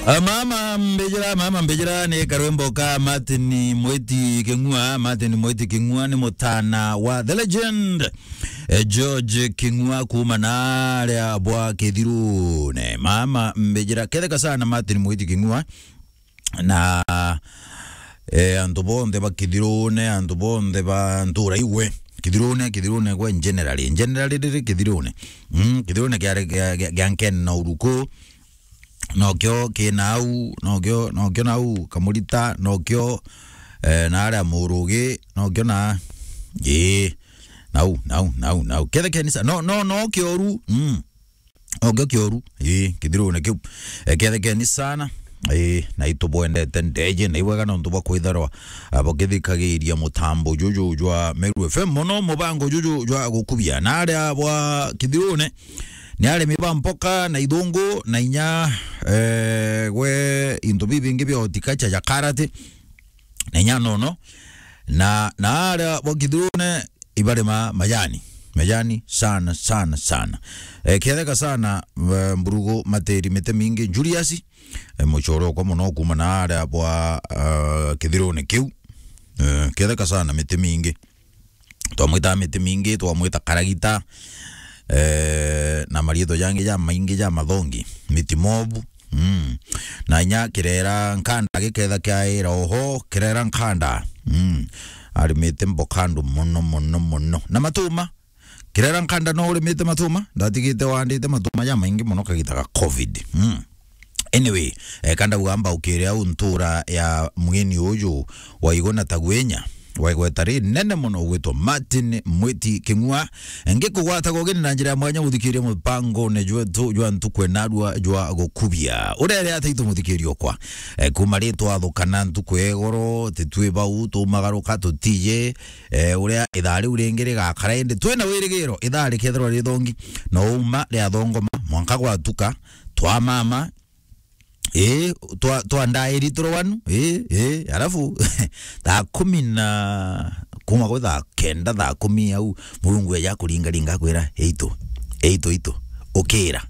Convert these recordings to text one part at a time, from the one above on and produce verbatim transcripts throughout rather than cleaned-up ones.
Ah, mama mbijira, mama mbijira ni karwimbo ka Martin Mwiti King'ua. Martin Mwiti King'ua ni mutana wa the legend, eh, George King'ua kuuma na aria bwa Kithirune. Mama mbijira, ketheka sana Martin Mwiti King'ua na, eh, antu bonthe ba Kithirune, antu bonthe ba ntura igwe. Kithirune, Kithirune gwe generally. Generally riri Kithirune. Mm, Kithirune kia, kia, kia, kia Nkeni na Uruku. Nokio ki nau, nokio, nokio nau, Kamurita, nokio, eh, na aria Murugi, nokio na, ii, nau, nau, nau, nau. Kethe kenisa, no, no, no kioru, mm. Nokio kioru, ii, Kithirune kiu. Eh, kethe keni sana, ii, na itubwendete ndeje, na iwega nontu bwa kwitharwa, ah, bukithikagiria mutambo juju jwa Meru F M mono, mubango juju jwa gukubia. Na aria bwa Kithirune, ni arimi ba mpoka na ithungu na inya, eh, gwe into bibingi bia horticulture ja karati na inya nono. Na, na aria bwa Kithirune ibarima majani. Majani sana, sana, sana. Eh, ketheka sana, eh, Mburugu Matiri miti mingi. Julius, eh, muchoro okwa mono kuuma na aria bwa, eh, Kithirune kiu. Eh, ketheka sana miti mingi. Twamwita miti mingi, twamwita karagita, eh, na mariitwa jangi jamaingi ja mathongi, miti mobu. Mm. Na inya kirera nkanda giketha kiaira oho, kirera nkanda. Mm. Arimite mboka andu mono, mono, mono. Na matuma, kirera nkanda no urimite matuma, ndatigite wandite matuma jamaingi mono kagita ga covid. Mm. Anyway, eh, kandauga mbaukire au ntura ya mgeni uyu wa Igona Tagwenya, wa igweta rinene mono gwitwa Martin Mwiti King'ua. Ngikugwata gogeni na njira ya mwanya guthikiria mupangone jwetu jwa ntuku enarua jwa gukubia. Urere ata itu muthikiri okwa? Eh, kuma ri twathukana ntuku ya igoro, titwi bau, tumagaruka, tutije, eh, uria ithaa riu ringi rigakara, indi twina wirigiro ithaa rikethirwa rithongi, no uma riathongoma, mwanka gwatuka, twamama, ii, twa, twa ndairi turwanu, ii, ii, alafu, thaa kumi na, kuma gwi thaa kenda, thaa kumi au, Murungu eja kuringaringa akwira, "Eitu, eitu, eitu, ukira."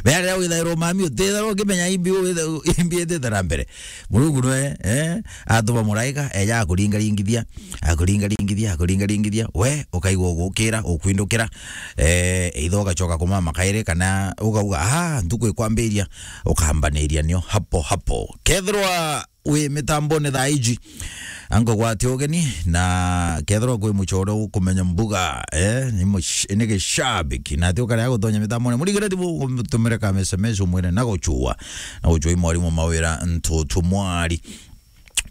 Mea riria withairwo mami, utithairwo ukimenya imbi withe-, imbi ithite na mbere. Murungu nwe, eh, atuma muraika, eja akuringaringithia, akuringaringithia, akuringaringithia, we ukaigua ugukira, ukwindukira, eh, either ugacoka kumama kairi, kana ugauga, "Ah, ntuku ikwambiria," ukambaniria nio hapo hapo. Kethirwa wi mitambone thaa iji, ankugwatia ugeni, na kethirwa kwi muchore ukumenya mbuga, eh, ni mush-, ni gishabiki, na ati ukarea gutonya mitambone, murigire thimu, umutumire ka S M S, umwire na guchua, na guchua i mwarimu Mawira Ntutu Mwari.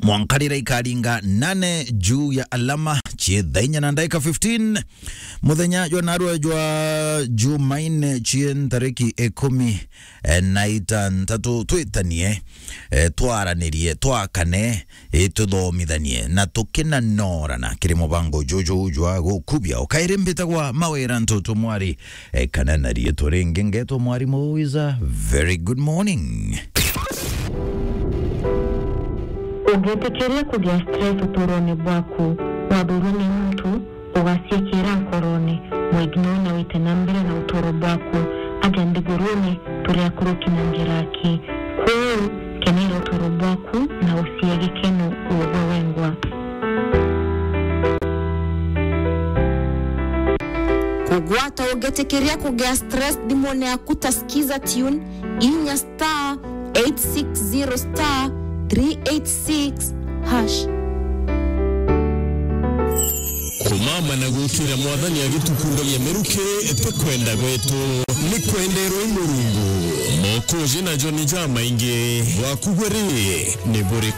Mwanka riria ikaringa nane juu ya alama, cie thaa inya na ndaika fifteen. Muthenya jwa narua jwa Jumaine, cie ntariki ikumi, eh, na itantatu, twitanie, eh, twaranirie, twakane, eh, tuthomithanie, na tukinanorana kiri mubango juju jwa gukubia. Ukairi mbitagwa Mawira Ntutu Mwari, eh, kana na riitwa ringi ngetwa Mwarimu Wiza. Very good morning. Ungitikiria kugia stress utuurone bwaku, wathurwa ni muntu, ugaciikira nkorone, mwignore na wite na mbere na utuuro bwaku. Aja nthigurune, turi akuruki na njira aki. Kwou, kenera utuuro bwaku na ucie gikeno ugwe wengwa. Kugwata ungitikiria kugia stress thimune yaku ta Skiza Tune, inya star eight six zero star three eight six hash. Kumama na gukira Mwathani agitukundagia miruki ti kwenda gwetu, ni kwenderwa i Murungu. Mokoji na joni jamaingi, bwaku bwe ri ni buriku?